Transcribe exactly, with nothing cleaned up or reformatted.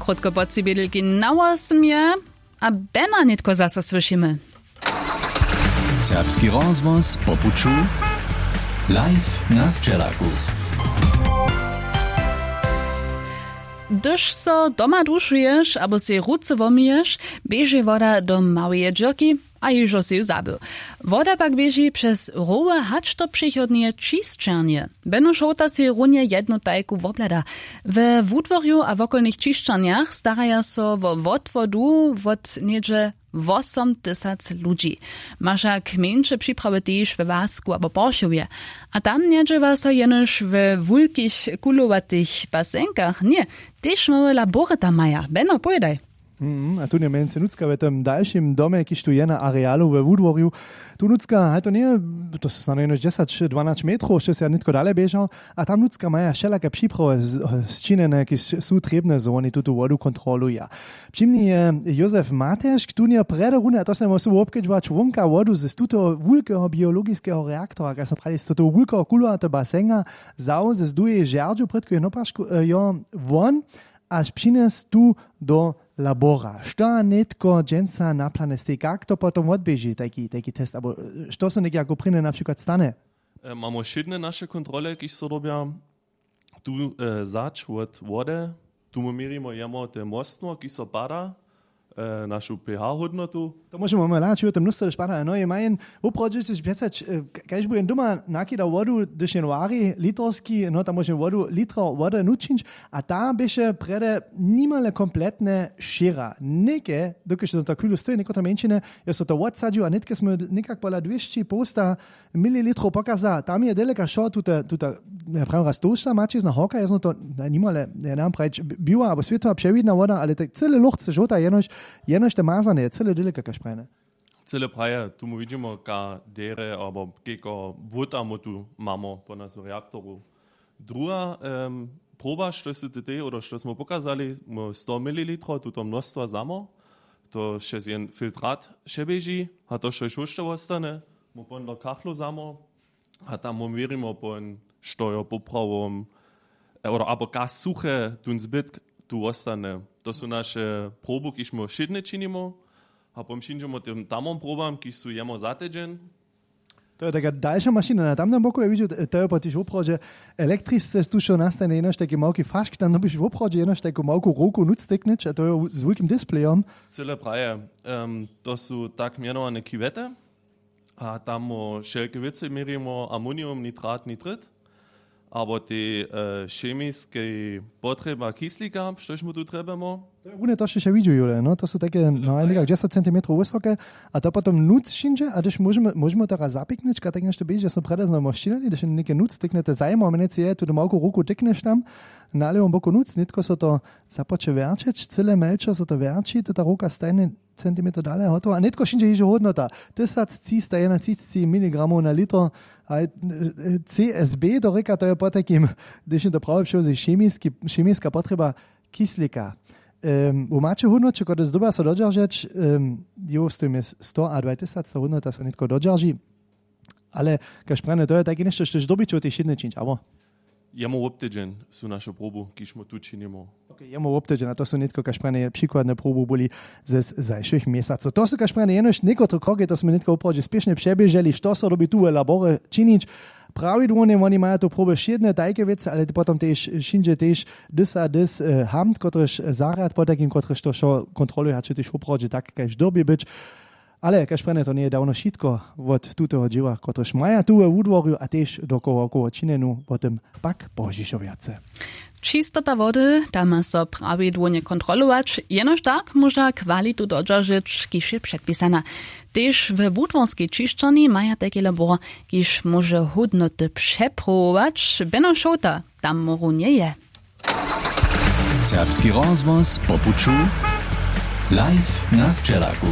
Krótko po tři bědelki na wosym je a bena nětko zaso słyšimy. Serbski rozhłos po puću, live na sćelaku. Hdyž so doma dušuješ abo sej ruce womyješ, běži woda do małeje dźěrki a hižo sej ju zabył. Woda pak běži přez rowy hač do přichodneje čisćernje. Beno šołta sej runje jednu tajku wobhlada. We wudworju a wokolnych čišćernjach staraja so wo wotwodu wot něhdźe wosomtysac ludźi. Ma wšak mjeńše připrawy tež we łasku abo porchowje. A tam njedźěła so jenož we wulkich kulowatych basenkach ně, tež małe labory tam maja. Beno, powědaj. Mhm, a tu nje mjency nutřka we tym dalšim domje, kiž tu je na arealu we wudworju. Tu nutřka, haj, to njeje, to su snano jenož dźesać dwanać metrow, štož ja nětko dale běžał. A tam nutřka maja wšelake připrawy z- sčinjene, kiž su trěbne, zo woni tutu wodu kontroluja. Při mni je Józef Materšk, tu nje prjedy runje, a to smy móhli wobkedźbować, wonka wodu z tutoho wulkeho biologiskeho reaktora, kaž smy prali, z tutoho wulkeho kulowateho basenga wzał z dujeje žerdźu prědko jeho nopašku, jo, won, a přinjesł tu do labora. Što a nětko dźensa na planje stej, kak to potom wotběži tajki tajki test abo što so někaj jako prěnje na přikład stanje? Mamy wšědne naše kontrole, kiž so robja tu, zadź wot wode. Tu my měrimy jemo te mnóstwo, kiž so pada, našu ph hódnotu. To móžemy hladać, jo, te mnóstwo, hdyž pada, no je majen. Woprawdźe sej přeco, kaž bu jen doma nakidał wodu, hdyž jen wari litrowski, no tam móžemy wodu litro wode nučić. A ta běše prjedy nimale kompletne šěra něke, dokelž to tak chwilu stoji někotre mjeńšiny, jo so to wotsadźił a nětke smy někak pola dwěsći połsta mililitrow pokaza. Tam je deleka wšo tuta tuta, ja prawim raz tołšta maćizna horka, ja znam to nimale, ja nemam prajić, biła abo swětła přewidna woda, ale tak cyle luchce žołta, jenož jenož te mazane je cyle deleka kaž prajene. Cyle praje, tu my widźimo ka derje abo kejko błóta my tu mamy po nas w reaktoru. Druha proba, štož sy ty tej oder što smy pokazali, my sto mililitrow tuto mnóstwa zamo, to přez jen filtrat přeběži a to štož hóšće wostane, my pon do kachlow zamo. A tam my měrimo pon, što jo poprawom, oder abo ka suche tón zbytk tu wostane. To su naše probu, kiž my wšědne činimo. A pon přińdźemo tym tamom probam, kiž su jemo za tydźeń. To je taka dalša mašina na tamnym boku, ja widźu, to je potiž woprawdźe. Elektrisce tušo nastanje jenož tajki małki fašk, tam dyrbiš woprawdźe jenož tajku małku ruku nutř tyknyć, a to je z wulkim displejom. Cyle praje. To su tak mjenowane kiwety. A tam my wšelke wěcy měrimo, amonium, nitrat, nitrit, abo tej chemiskej potrjeba kislika, štož my tu trjebamy. To je runje to, štož ja widźu, Jule, no to su tajke, no, někak dźesać centimetrow wysoke. A to potom nutř přińdźe, a hdyž móžemy móžemy to raz zapiknyć, ka tak něšto běži, ja smy prjedy znamo sčinili, hdyž něke nutř tyknjete, zajimało mjenujcy je tu do małku ruku tyknyš tam, na lěwom boku nutř, nětko so to započe wjerćeć, cyle mjelčo so to wjerći, to ta ruka stajnje centimetrow dale, hotowa. A nětko přińdźe hižo hódnota, tysac třista jedenatřicći miligramow na litro. A c s b to rěka, to je potajkim, hdyž jen to prawje přełoži, chemiska potrjeba kislika. Wy maće hódnoće, kotrež dyrbja so dodźeržeć. Jow stojimy sto a dwajtysac, ta hódnota so nětko dodźerži. Ale kaž prjene, to je tajke něšto, štož dyrbiće w tej wšědnje čińć, abo? Jemo wobtydźeń su naše probu, kiž my tu činimo. Jemo wobtydźeń, a to su nětko, kaž prjene, přikładne probu byli ze zašłych měsacow. To su, kaž prjene, jenož někotre kroki, to smy nětko woprawdźe spěšnje přeběželi, što so dyrbi tu we laborje činić. Prawidłownje woni maja tu proby wšědne tajke wěcy, ale potom tež wšědźe tež dys a dys hamt, kotryž zarjad potajkim, kotryž to wšo kontroluja, hač je tež woprawdźe tak, kaž dyrbi być. Ale kaž prjene, to njeje dawno wšitko wot tutoho dźěła, kotryž maja tu we wudworju a tež dokoła wokoło činjenu, wo tym pak pozdźišo wjace. Čistota wody, ta ma so prawidłownje kontrolować, jenož tak móža kwalitu dodźeržeć, kiž je předpisana. Tež we wudworskej čišćerni maja tajki labor, kiž móže hódnoty přeprowować. Beno Šołta tam runje je. Serbski rozhłos po puću, live na sćelaku.